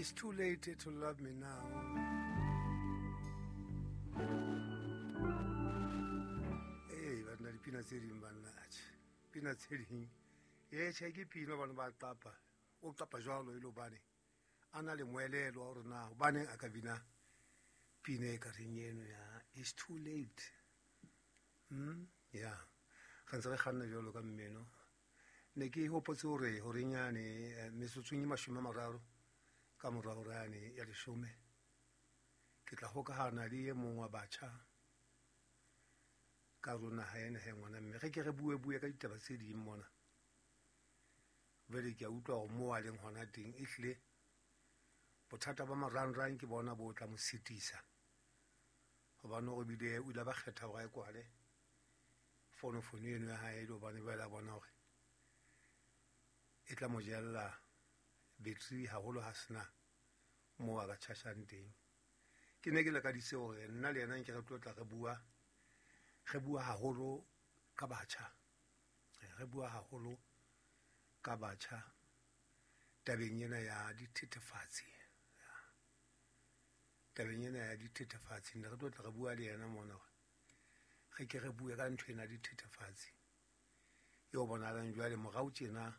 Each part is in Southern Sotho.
It's too late to love me now. Ee, banna, dipina tse ding, banna, atjhe, pina tse ding ee, tjhe, ke pina bana ba qapa, o qapa jwalo e le hobane a na le moelelo wa hore na hobaneng a ka bina pina e ka reng eno ya "It's too late". Ya re ntse re kganna jwalo ka mmino. Ne ke hopotse hore horenyane metsotsong e 30 ka mora hora yane ya 10 ke tla hokahana le e mong wa batjha ka rona ha ena he ngwana, mme re ke re bue bue ka ditaba tse ding mona. Jwale ke a utlwa hore moo a leng hona teng, ehlile bothata ba marangrang ke bona bo tla mo sitisa, hobane hore bile o ile ba kgetha hore a e kwale fonofono eno ya hae, le hobane jwale a bona hore e tla mo jella battery haholo, ha sena moo a ka tjhashang teng. Ke ne ke lakaditse hore nna le yena nke re tlo tla re bua, re bua haholo ka batjha, re bua haholo ka batjha tabeng ena ya dithethefatsi, tabeng ena ya dithethefatsi. Ne re tlo tla re bua le yena mona hore re ke re bue ka ntho ena ya dithethefatsi eo bonahalang jwale morao tjena,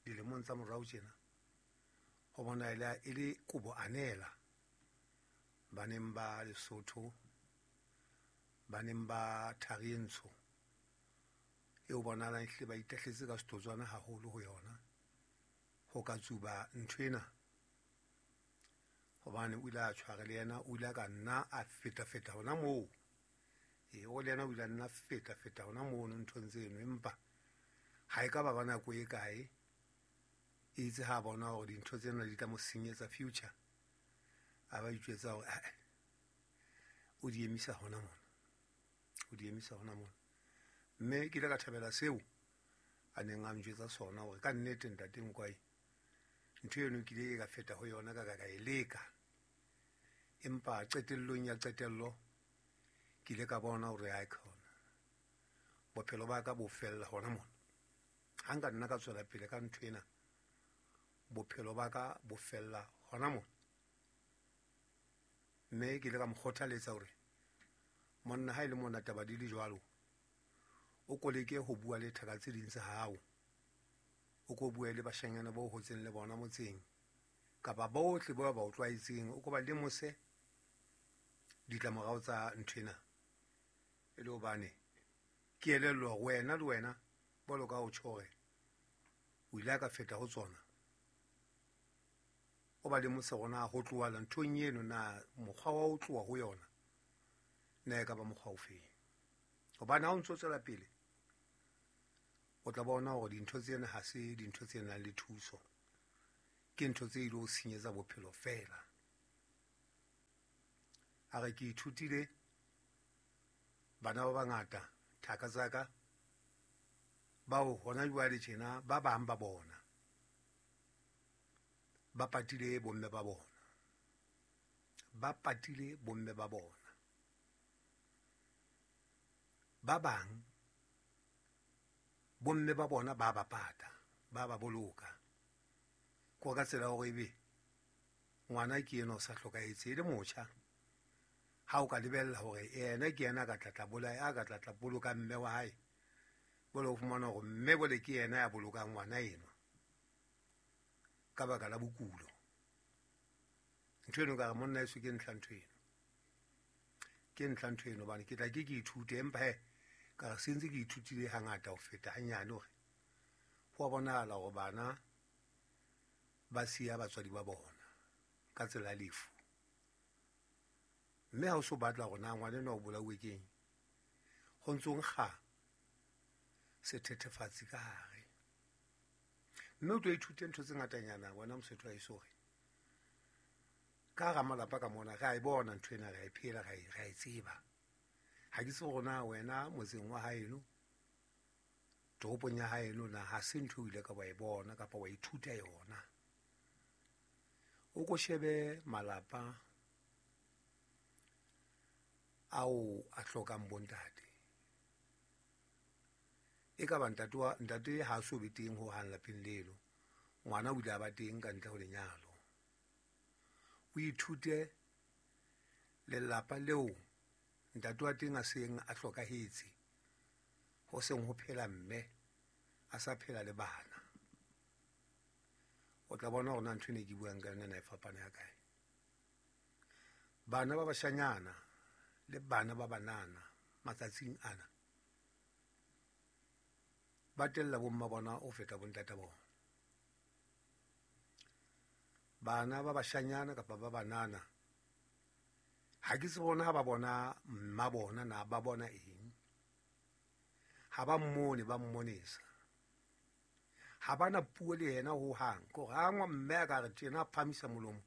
dilemong tsa morao tjena, ho bonahala e le kobo anela baneng ba Lesotho, baneng ba thari e ntsho eo bonahalang ehlile ba itahletse ka setotswana haholo ho yona, ho ka tsuba ntho ena. Hobane o ile a tshware le yena, o ile a ka nna a feta-feta hona moo. Ee, o le yena o ile a nna feta-feta hona mono nthong tseno, empa ha e ka ba ba nako e kae, itse ha bona hore dintho tsena di tla mo senyetsa future, a ba itjwetsa hore ae, o di emisa hona mona, o di emisa hona mona. Mme ke ile ka thabela seo a neng a njwetsa sona, hore ka nnete, ntate Nkwai, ntho eno ke ile ka feta ho yona, ka ka ka e leka, empa qetellong ya qetello ke ile ka bona hore ha e khona bophelo ba ka bo fella hona mona. Ha nka nna ka tswela pele ka ntho ena, bophelo ba ka bo fella hona mona. Mme ke ile ka mo kgothaletsa hore monna, ha e le mona taba di le jwalo, o ko leke ho bua le thaka tse ding tsa hao, o ko bue le bashanyana bo hotseng le bona motseng, kapa bohle ba ba o tlwaetseng, o ko ba lemose ditlamorao tsa ntho ena, e le hobane ke elellwa hore wena le wena bolo ka o tjho hore o ile a ka feta ho tsona. O ba lemose hore na ho tlohala nthong eno, na mokgwa wa ho tloha ho yona na e ka ba mokgwa o feng, hobane ha o ntso tswela pele o tla bona hore dintho tsena ha se dintho tse nang le thuso, ke ntho tse ilo senyetsa bophelo feela. A re ke ithutile bana ba bangata, thaka tsa ka, bao hona jwale tjena ba bang ba bona ba patile bomme ba bona, ba patile bomme ba bona. Ba bang bomme ba bona ba ba pata, ba ba boloka ko ka tsela hore ebe ngwana ke ena o sa hlokahetse e le motjha, ha o ka lebella hore yena ke yena a ka tlatla bolaya, a ka tlatla boloka mme wa hae, bole o fumana hore mme bole ke yena ya bolokang ngwana enwa ka baka la bokulo. Ntho eno ka re monna eso ke ntlha ntho eno, ke ntlha ntho eno, hobane ke tla ke ke ithute, empa he ka re sentse ke ithutile hangata ho feta hanyane hore ho a bonahala hore bana ba siya batswadi ba bona ka tsela ya lefu. Mme ha o so batla hore na ngwana enwa o bolauwe keng, ho ntso nkga sethethefatsi ka hare. Mme o tlo ithute ntho tse ngatanyana wena Mosotho wa heso, hore ka hara malapa ka mona re a e bona ntho ena, re a e phela, re a e tseba. Ha ke tsebe hore na wena motseng wa haeno, toropong ya haeno, na ha se ntho o ile ka wa e bona kapa wa ithuta yona. O ko shebe malapa ao a hlokang bontate, e ka ba ntate wa ntate ha so be teng ho hang lapeng leno, ngwana o ile a ba teng ka ntle ho lenyalo. O ithute lelapa leo ntate wa teng a seng a hlokahetse, ho seng ho phela mme a sa phela le bana. O tla bona hore na ntho ene ke buang ka yona na e fapana ya kae. Bana ba bashanyana le bana ba banana matsatsing ana ba tella bomma bona ho feta bontata bona. Bana ba bashanyana kapa ba banana ha ke tsebe bona ha ba bona mma bona na ba bona eng. Ha ba mmone, ba mmonesa. Ha bana puo le yena ho hang. Ke hore ha mme a ka re tjena a phahamisa molomo,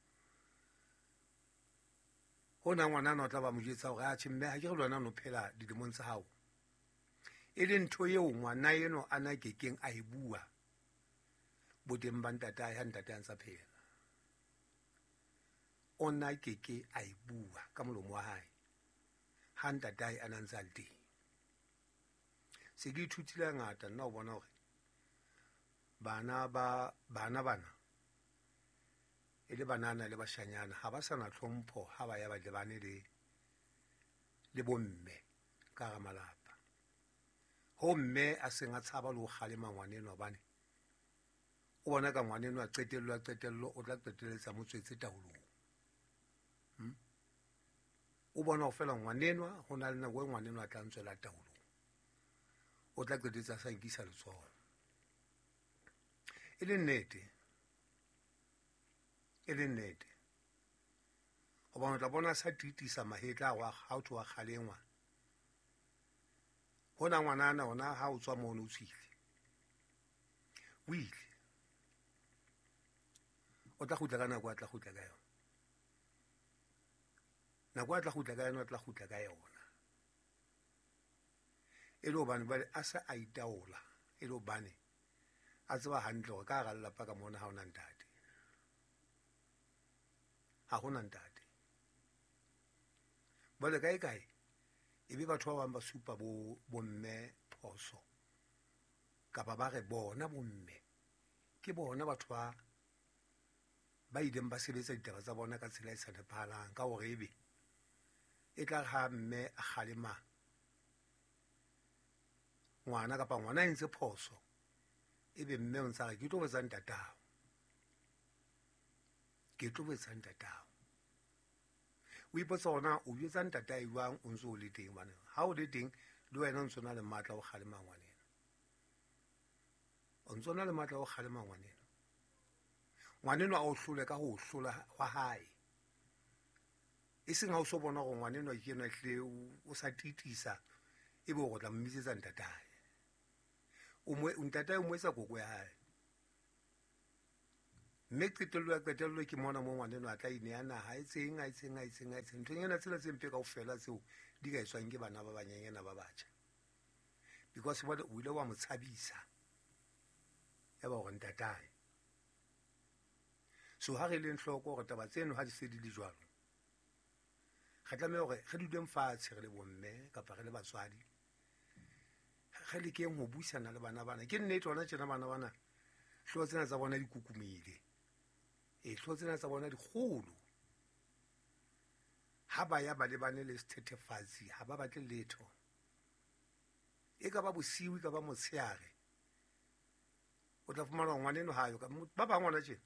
hona ngwanana o tla ba mo jwetsa hore atjhe mme ha ke re le wena o no phela dilemong tsa hao. E le ntho eo ngwana eno a na kekeng a e bua boteng ba ntatae ha ntate a ntsa phela. O na keke a e bua ka molomo wa hae ha ntatae a na ntse a le teng. Se ke ithutile ngata nna ho bona hore bana ba bana bana e le banana le bashanyana ha ba sa na tlhompho ha ba ya ba lebane le bomme ka hara malapa. Ho mme a seng a tshaba le ho kgalema ngwaneno hobane o bona ka ngwaneno a qetello a qetello o tla qetelletsa mo tswetse taolong. O bona ho fela ngwanenwa ho na le nako e ngwanenwa a tla ntswela taolong. O tla qetelletsa a sa nkisa letsoho. E le nnete. E le nnete. Hobane o tla bona a sa titisa mahetla a ha o thwe wa kgalengwa. Hona ngwanana ona ha o tswa mono o tswile. O ile. O tla kgutla ka nako a tla kgutla ka yona. Nako a tla kgutla ka yona, o tla kgutla ka yona. E le hobane jwale a se a itaola, e le hobane a tseba hantle hore ka hara lelapa ka mona ha hona ntate. Ha hona ntate. Jwale kae kae e be batho ba bang ba supa bo bomme phoso kapa ba re bona bomme ke bona batho ba ileng ba sebetsa ditaba tsa bona ka tsela e sa nepahalang, ka hore ebe e tla re ha mme a kgalema ngwana kapa ngwana a entse phoso, ebe mme o ntsa re ke tlo botsa ntatao, ke tlo botsa ntatao. O ipotsa hore na o jwetsa ntatae jwang o ntso o le teng, hobane ha o le teng le wena o ntso na le matla o kgalema ngwaneno, o ntso na le matla o kgalema ngwaneno. Ngwaneno a o hlole ka ho hlola hwa hae, e seng ha o so bona hore ngwaneno ke enwa ehlile o sa titisa, ebe o tla mmitsetsa ntatae. Ntatae o mo etsa koko ya hae. Mme qetello ya qetello ke mona mo ngwaneno a tla ineha naha, a etseng, a etseng, a etseng, a etseng. Nthonyana tsena tse mpe kaofela tseo di ka etswang ke bana ba banyenyana ba batjha. Because jwale o ile wa mo tshabisa, ya ba hore ntatae. So ha re leng hloko hore taba tseno ha di se di le jwalo, re tlameha hore re duleng fatshe re le bomme kapa re le batswadi, re lekeng ho buisana le bana bana. Ke nnete hona tjena bana bana hlooho tsena tsa bona di kukumile. Hlooho tsena tsa bona di kgolo. Ha ba ya ba lebane le sethethefatsi, ha ba batle letho. E ka ba bosiu, e ka ba motshehare. O tla fumana hore ngwaneno ha yo. Ba bang hona tjena,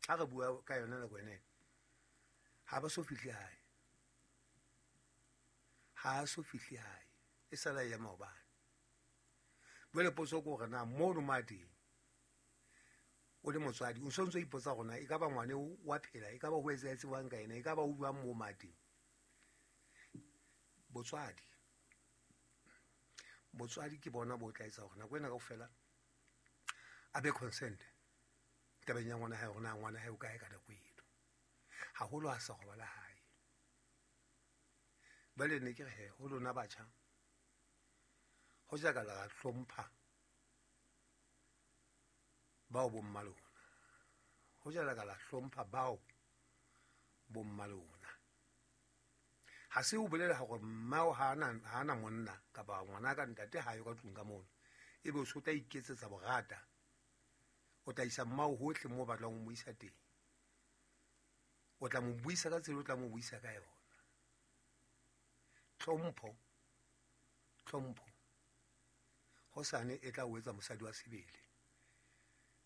ha re bua ka yona nako ena, ha ba so fihle hae. Ha so fihle hae. E sala ya maobane. Jwale potso ke hore na mono mo a teng, o le motswadi, o so ntso ipotsa hore na e ka ba ngwane wa phela, e ka ba ho etsahetse jwang ka yena, e ka ba o jwang moo mo a teng. Botswadi. Botswadi ke bona bo tla etsa hore nako ena kaofela a be concerned tabeng ya ngwana hae, hore na ngwana hae o kae ka nako eno. Haholo ha sa robala hae. Jwale ne ke re he, ho lona batjha, ho ja ka la hlompha bao bomma lona, ho ja ka la hlompha bao bomma lona. Ha se o bolela hore mmao ha ana monna kapa ngwana ka ntate ha yo ka tlung ka mono, ebe o so tla iketsetsa borata, o tla isa mmao hohle moo batlang ho mo isa teng. O tla mo buisa ka tsela o tla mo buisa ka yona. Tlhompho, tlhompho hosane e tla o etsa mosadi wa sebele,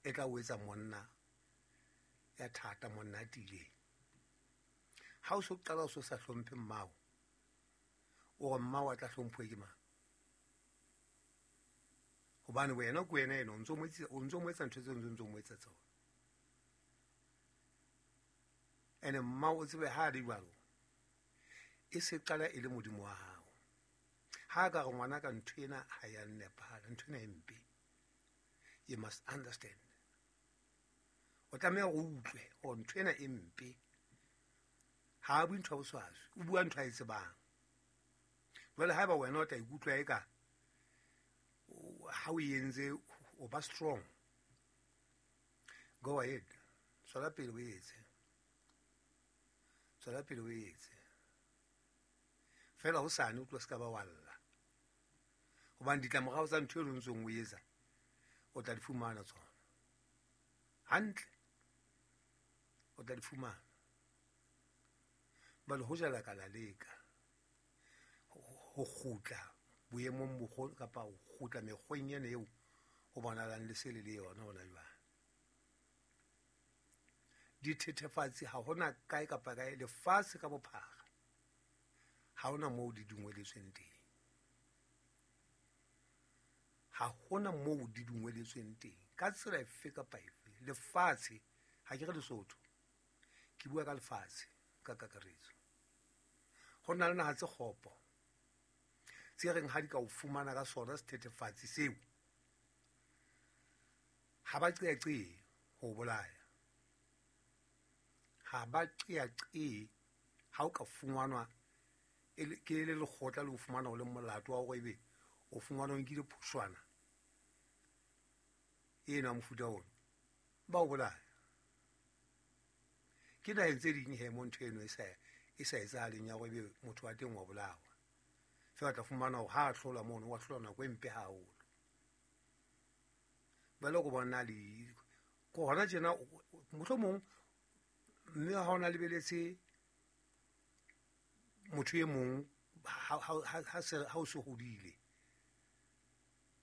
e tla o etsa monna ya thata, monna a tiileng. Ha o so qala o so sa hlomphe mmao, o re mmao a tla hlomphuwe ke mang? Hobane wena ke wena ena o ntso mo etsa ntho tseo o ntso mo etsa tsona. Ene mmao o tsebe ha a le jwalo, e se qala e le modimo wa hao. Ha ka re ngwana ka ntho ena ha ya nepahala, ntho ena e mpe. You must understand. O tlameha hore o utlwe hore ntho ena e mpe. Ha a bue ntho ya boswaswi, o bua ntho a e tsebang. Jwale haeba wena o tla ikutlwa eka ha o entse o ba strong, go ahead, tswela pele o etse, tswela pele o etse. Fela hosane o tlo se ka ba wa lla, hobane ditlamorao tsa ntho eo o ntsong o etsa o tla di fumana tsona hantle, o tla di fumana. Jwale ho jala ka la leka ho kgutla boemong bo kapa ho kgutla mekgweng ena eo ho bonahalang le se le le yona hona jwale. Dithethefatsi ha hona kae kapa kae lefatshe ka bophara, ha hona moo di dungweletsweng teng. Ha hona moo di dungweletsweng teng ka tsela efe kapa efe. Lefatshe, ha ke re Lesotho, ke bua ka lefatshe ka kakaretso. Ho na le naha tse kgopo tse reng ha di ka o fumana ka sona sethethefatsi seo, ha ba qeaqee ho bolaya. Ha ba qeaqee ha o ka fumanwa ke le lekgotla le o fumana o le molato wa hore ebe o fumana o nkile phoshwana ena mofuta ona, ba o bolaya. Ke naheng tse ding he mo ntho eno e sa etsahaleng ya hore ebe motho wa teng wa bolawa. Feela tla fumana hore ha a hlola mono, wa hlola nako e mpe haholo. Jwale ko bona le ko hona tjena, mohlomong mme ha ona lebeletse motho e mong ha o se hodile,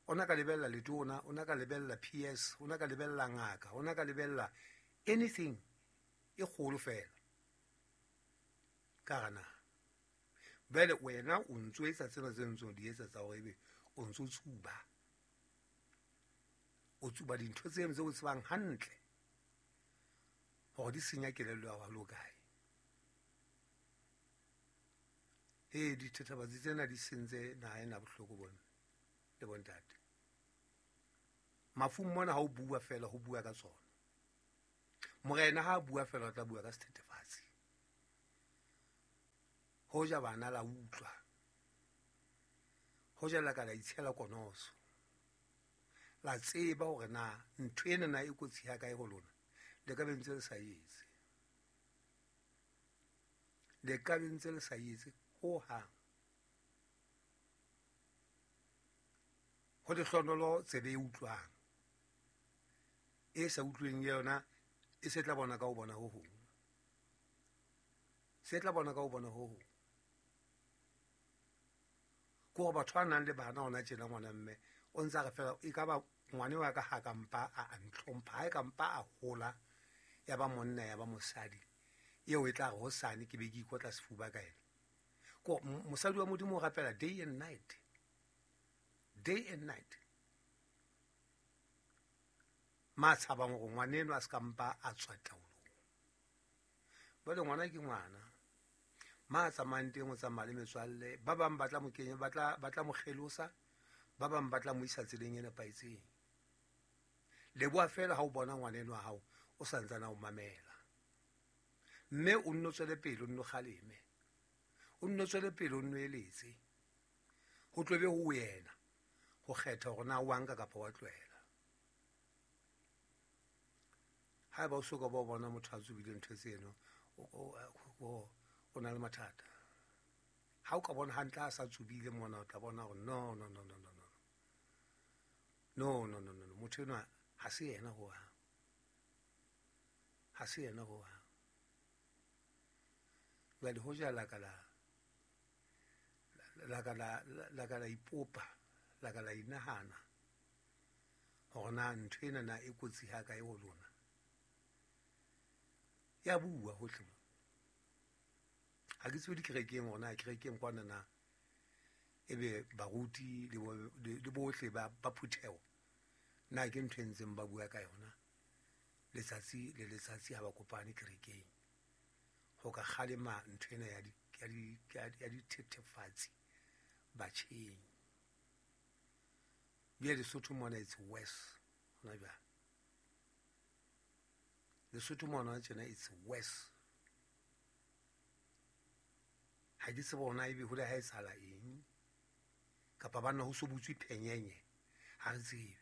ona ka lebella letona, ona ka lebella PS, ona ka lebella ngaka, ona ka lebella anything e kgolo fela ka hara naha. Jwale wena o ntso etsa tsena tse ntso di etsa tsa hore ebe o ntso tsuba, o tsuba dintho tseno tse o tsebang hantle hore di senya kelello ya hao kae. Ee, dithethefatsi tsena di sentse naha ena bohloko bomme le bontate. Mafung mona ha o bua fela, ho bua ka tsona. Morena ha a bua fela, o tla bua ka sethethefatsi. Hoja bana la utlwa, hoja la ka la itshela konoso, la tseba hore na ntho ena na e kotsi ha kae ho lona, le ka be ntse le sa etse, le ka be ntse le sa etse ho hang. Ho lehlohonolo tsebe e utlwang, e sa utlweng yona e se tla bona ka ho bona ho hong, se tla bona ka ho bona ho hong. Ke hore batho ba nang le bana hona tjena, ngwana mme o ntsa re fela e ka ba ngwane wa ka ha ka mpa a ntlhompha, ha e ka mpa a hola ya ba monna ya ba mosadi, eo e tla re hosane ke be ke ikotla sefuba ka ena. Ko mosadi wa Modimo o rapela day and night, day and night. Ma tshabang hore ngwaneno a se ka mpa a tswa taolong. Jwale ngwana ke ngwana, ma tsamayang teng o tsamaya le metswalle, ba bang ba tla mo kenya, ba tla mo kgelosa, ba bang ba tla mo isa tseleng e nepahetseng. Leboha fela ha o bona ngwaneno wa hao o sa ntsane a o mamela, mme o nno tswele pele, o nno kgaleme, o nno tswele pele, o nno eletse. Ho tlo be ho wena ho kgetha hore na wa nka kapa wa tlohela. Haeba o soka ba o bona motho a tsubile ntho tseno, o na le mathata. Ha o ka bona hantle a sa tsubile mona, o tla bona hore no, no, no, no, no, no, no, no, no, no, motho enwa ha se yena ho hang, ha se yena ho hang. Jwale hoja la ka la la ka la la ka la ipopa, la ka la inahana hore na ntho ena na e kotsi ha kae ho lona. Ya bua hohle mo. Ha ke tsebe dikerekeng hore na kerekeng kwana na ebe baruti le bohle ba phutheho na ke ntho e ntseng ba bua ka yona letsatsi le letsatsi ha ba kopane kerekeng ho ka kgalema ntho ena ya dithethefatsi batjheng. Bjale Lesotho mona it's worse hona jwale. Lesotho mona tjena it's worse. Ha ke tsebe hore na ebe hole ha etsahala eng kapa banna ho so butswe phenyenye, ha re tsebe.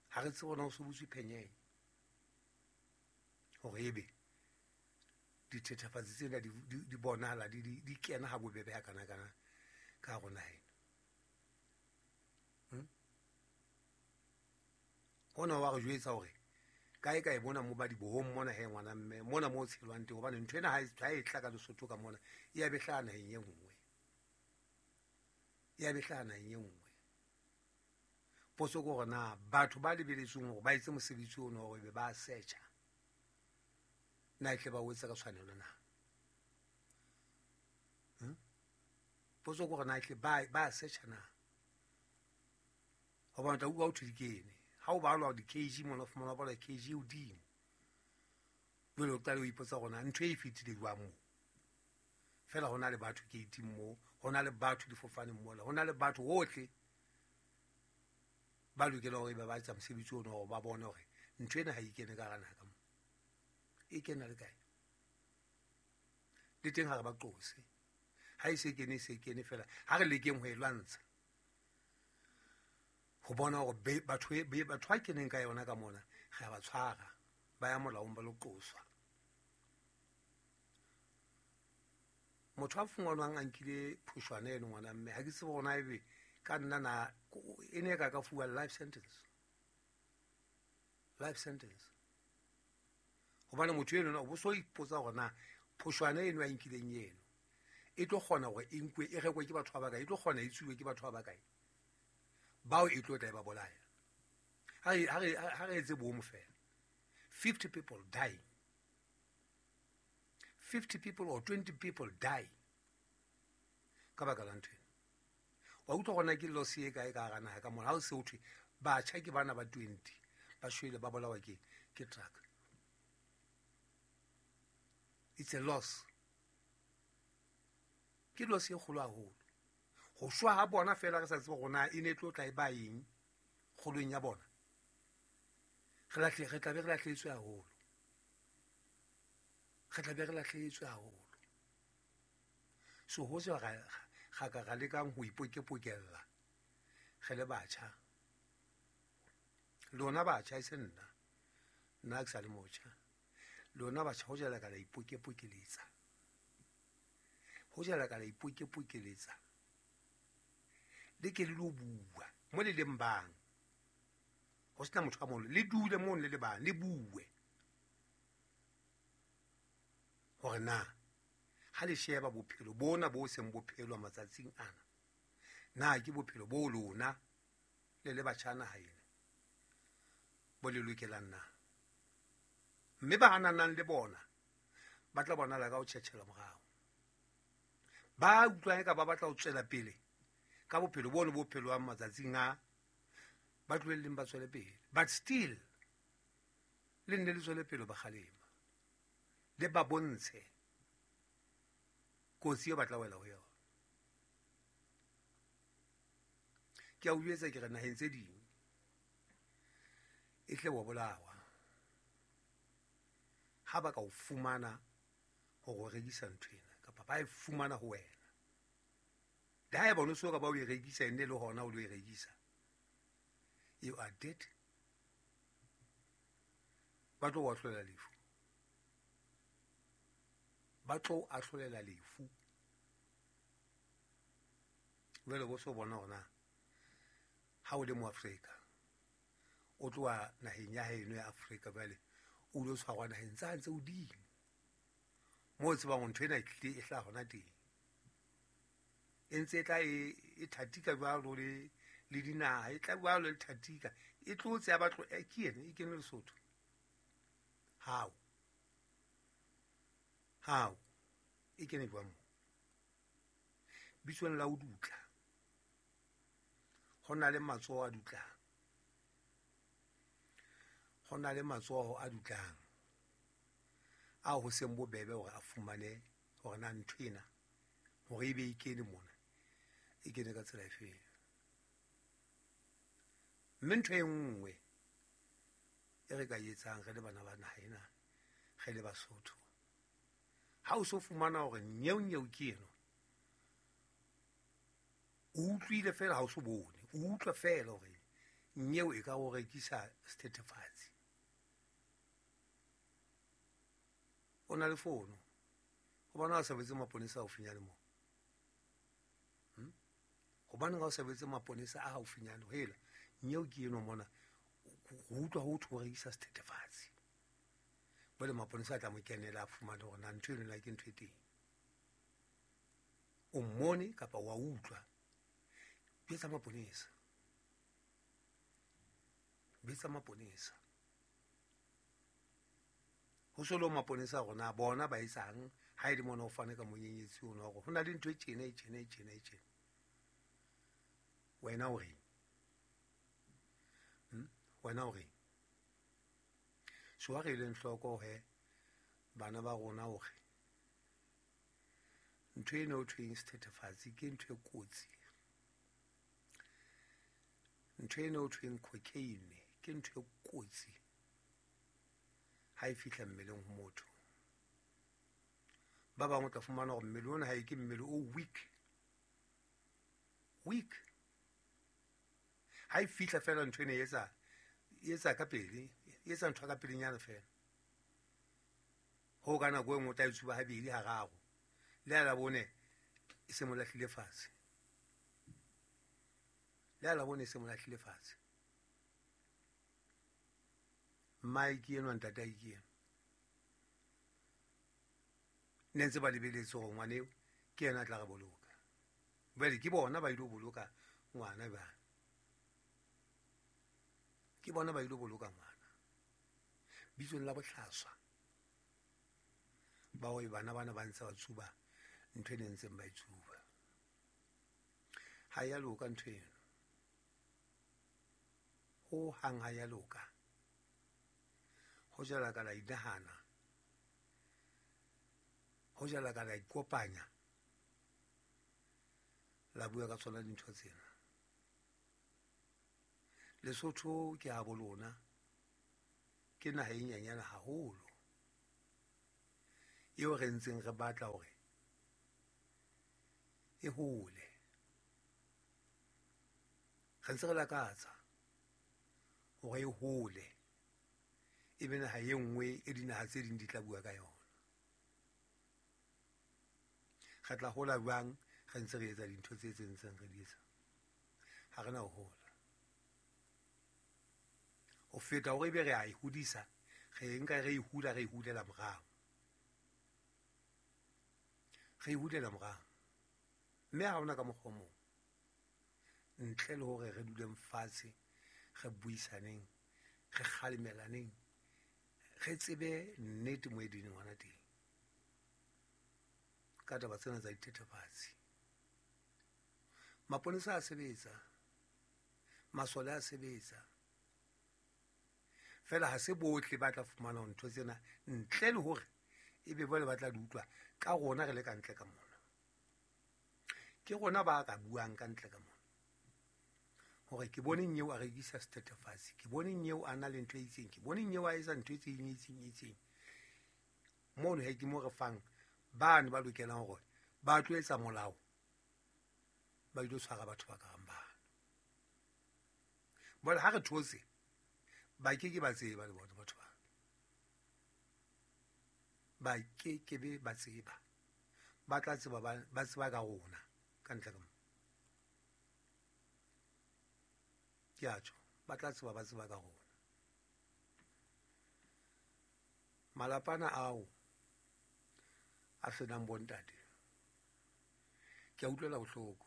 Ha re tsebe hore na ho so butswe phenyenye hore ebe dithethefatsi tsena di bonahala di kena ha bobebe ha kana kana ka hare ho naha ena. Hona wa re jwetsa hore kae kae mona mo ba dibohong mona he ngwana mme mona mo tshelwang teng, hobane ntho ena ha e tla ka Lesotho ka mona e ya be hlaha naheng e nngwe, e ya be hlaha naheng e nngwe. Potso ke hore na batho ba lebeletsweng hore ba etse mosebetsi ono hore be ba searcha na e tle ba o etsa ka tshwanelo na? Potso ke hore na e tle ba searcha na? Hobane o tla utlwa ho thwe di kene. Ha o balwa di-kg mona, o fumana o balwa kg e hodimo. Jwale o qale o ipotsa hore na ntho e fetile jwang moo. Feela ho na le batho gate-ing moo, ho na le batho difofaneng mola, ho na le batho hohle ba lokelang hore ba etsa mosebetsi ono hore ba bone hore ntho ena ha e kene ka hara naha ka moo. E kena le kae? Le teng ha re ba qose. Ha e se kene, e se kene feela. Ha re lekeng ho e lwantsha. Ho bona hore batho ba keneng ka yona ka mona re a ba tshwara, ba ya molaong ba lo qoswa. Motho a fungwanwang a nkile phoshwana eno ngwana mme, ha ke tsebe hore na ebe ka nna na e ne ka fuwa life sentence. Life sentence. Hobane motho eno o bo so ipotsa hore na phoshwana eno a nkileng eno e tlo kgona hore e nkwe e rekwe ke batho ba bakae, e tlo kgona e tsuwe ke batho ba bakae bao e tlo tla e ba bolaya. Ha re etse bomo fela. 50 people dying. 50 people or 20 people die ka baka la ntho ena. Wa utlwa hore na ke loss e kae ka hara naha ka mona. Ha o se ho thwe batjha ke bana ba 20 ba shwele ba bolawa ke truck. It's a loss. Ke loss e kgolo haholo. Ho shwa ha bona fela re sa tsebe hore na e ne tlo tla e ba eng kgolong ya bona. Re tla be re lahlehetswe haholo. Re tla be re lahlehetswe haholo. So ho se ga ka ga lekang ho ipokepokella re le batjha. Lona batjha e se nna. Nna ke sa le motjha. Lona batjha ho jala ka la ipokepokeletsa. Ho jala ka la ipokepokeletsa. Le ke le lo bua mo le leng bang. Ho sena motho a mong, le dule mo le le bang, le bue. Hore na ha le sheba bophelo bona bo seng bophelwa matsatsing ana, na ke bophelo bo lona le le batjha naha ena bo le lokelang na? Mme ba hananang le bona ba tla bonala ka ho tjhetjhela morao. Ba utlwang eka ba batla ho tswela pele ka bophelo bono bo phelwang matsatsing a, ba tlohelleng ba tswele pele. But still le nne le tswele pele ba kgalema, le ba bontshe kotsi eo ba tla wela ho yona. Ke a o jwetsa ke re naheng tse ding e tle wa bolawa ha ba ka o fumana hore o rekisa ntho ena kapa ba e fumana ho wena. Le haeba o no so ka ba o e rekisa ene le hona o lo e rekisa, you are dead. Ba tlo o ahlolela lefu. Ba tlo o ahlolela lefu. Jwale bo so bona hore na ha o le mo Afrika o tloha naheng ya heno ya Afrika, jwale o lo tshwarwa naheng tsa tse hodimo. Moo o tsebang hore ntho ena e tlile e hlaha hona teng. E ntse e tla e thatika jwalo le dinaha, e tla jwalo le thatika. E tlotse ya batlo ke ena e kene Lesotho. How? How? E kene jwang moo? Bitsong la ho dutla. Ho na le matsoho a dutlang. Ho na le matsoho a dutlang. A ho seng bobebe hore a fumane hore na ntho ena hore ebe e kene mona, e kene ka tsela efeng. Mme ntho e nngwe e re ka etsang re le bana ba naha ena, re le Basotho, ha o so fumana hore nyeo-nyeo ke eno, o utlwile feela ha o so bone, o utlwa feela hore nyeo e ka o rekisa sethethefatsi. O na le fono, hobane ha o sa betse maponesa haufinyane moo. Hobaneng ha o sa betse maponesa a haufinyane, hela nyeo ke eno mona, ho utlwa ho thwe o rekisa sethethefatsi. Jwale maponesa a tla mo kenela a fumane hore na ntho eno na ke ntho e teng. O mmone kapa wa utlwa, betsa maponesa. Betsa maponesa. Ho so le maponesa rona bona ba etsang ha e le mona o fane ka monyenyetsi ono wa hore ho na le ntho e tjena e tjena e tjena e tjena. Wena o reng? Wena o reng? So ha re eleng hloko he bana ba rona hore ntho ena ho thweng sethethefatsi ke ntho e kotsi. Ntho ena ho thweng cocaine ke ntho e kotsi ha e fihla mmeleng ho motho. Ba bang o tla fumana hore mmele ona ha e ke mmele o weak. Weak. Ha e fihla feela ntho ena e etsa ka pele, e etsa ntho ka pelenyana feela. Ho ka nako e nngwe o tla e tsuba habedi hararo. Le ha la bone e se mo lahlile fatshe. Le ha la bone e se mo lahlile fatshe. Mmae ke enwa, ntatae ke enwa. Ne ntse ba lebeletse hore ngwana eo ke yena a tla re boloka. Jwale ke bona ba ilo boloka ngwana jwang. Ke bona ba ilo boloka ngwana. Bitsong la bohlaswa. Ba hore bana bana ba ntse ba tsuba ntho e ne ntseng ba e tsuba. Ha ya loka ntho eno. Ho hang ha ya loka. Ho jala ka la inahana. Ho jala ka la ikopanya. La bua ka tsona dintho tsena. Lesotho ke ha bolona. Ke naha e nyenyane haholo. Eo re ntseng re batla hore e hole. Re ntse re lakatsa hore e hole. E be naha e nngwe e dinaha tse ding di tla bua ka yona. Re tla hola jwang re ntse re etsa dintho tse tse ntseng re di etsa? Ha re na ho hola. Ho feta hore ebe re a e hodisa, re nka re e hula, re e hulela morao. Re e hulela morao. Mme ha hona ka mokgwa o mong. Ntle le hore re duleng fatshe, re buisaneng, re kgalemelaneng, re tsebe nnete mo e leng hona teng. Ka taba tsena tsa dithethefatsi. Maponesa a sebetsa, masole a sebetsa. Feela ha se bohle ba tla fumana ntho tsena ntle le hore ebe jwale ba tla di utlwa ka rona re le ka ntle ka mona. Ke rona ba ka buang ka ntle ka mona. Hore ke bone nyeo a rekisa sethethefatsi, ke bone nyeo a na le ntho e itseng, ke bone nyeo a etsa ntho e itseng, e itseng, e itseng. Mono he ke mo re fang bane ba lokelang hore ba tlo etsa molao, ba ilo tshwara batho ba kang bana. Jwale ha re thotse, ba ke ke ba tseba le bona batho ba. Ba ke ke be ba tseba. Ba tla tseba ba tseba ka rona ka ntle ka mo. Ke a tjho, ba tla tseba ba tseba ka rona. Malapana ao A senang bontate. Ke a utlwela bohloko.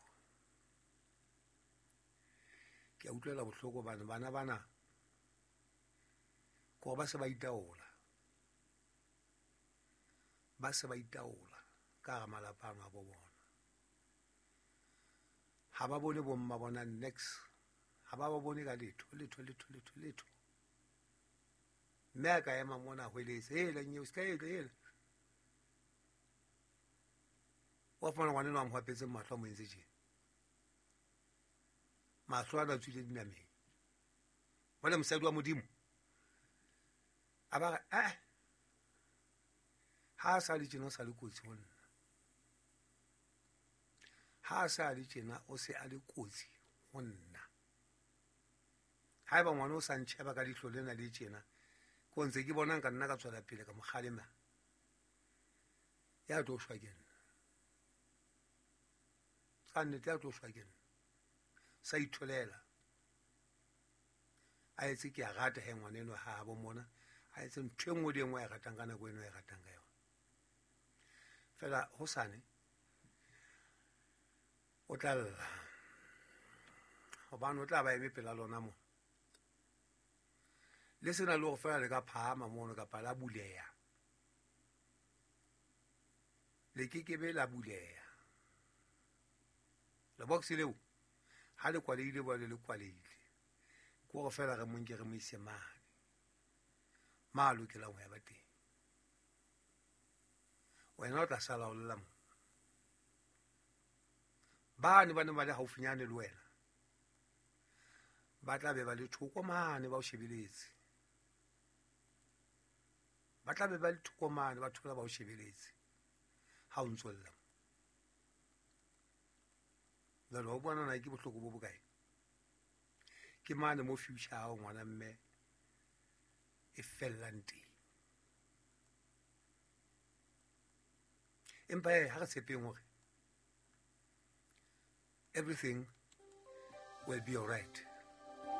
Ke a utlwela bohloko hobane bana bana ke hore ba se ba itaola. Ba se ba itaola ka hara malapa ano a bo bona. Ha ba bone bomma bona next. Ha ba ba bone ka letho, letho, letho, letho, letho. Mme a ka ema mona a hweletse, hela nyeo, se ka etla, hela. Wa fumana ngwana enwa a mo hwapetseng mahlo a mo entse tjena. Mahlo ana a tswile dinameng. Jwale mosadi wa Modimo a ba re, eh, ha a sa le tjena o sa le kotsi ho nna. Ha a sa le tjena o se a le kotsi ho nna. Haeba ngwana o sa ntjheba ka leihlo lena le tjena, ke o ntse ke bona nka nna ka tswela pele ka mo kgalema. Ya tlo shwa ke nna. Ka nnete ya tlo shwa ke nna. Sa itholela. A etse ke a rata he ngwana enwa ha bo mona. A etse ntho e nngwe le e nngwe a e ratang ka nako eno a e ratang ka yona. Fela hosane o tla lla. Hobane o tla ba eme pela lona mona. Le sena le hore fela le ka phahama mono kapa la buleha. Le kekebe la buleha. Lebox leo ha le kwalehile jwale le kwalehile. Ke hore fela re mo nke re mo ise mane. Ma lokelang ho ya ba teng. Wena o tla sala o lla mo. Bane ba ne ba le haufinyane le wena. Ba tla be ba le thoko mane ba o shebeletse. Ba tla be ba le thoko mane ba thola ba o shebeletse. Ha o ntso lla. Jwale wa bona na ke bohloko bo bokae? Ke mane mo future hao ngwana mme e fellang teng. Empa ha re tshepeng hore everything will be all right.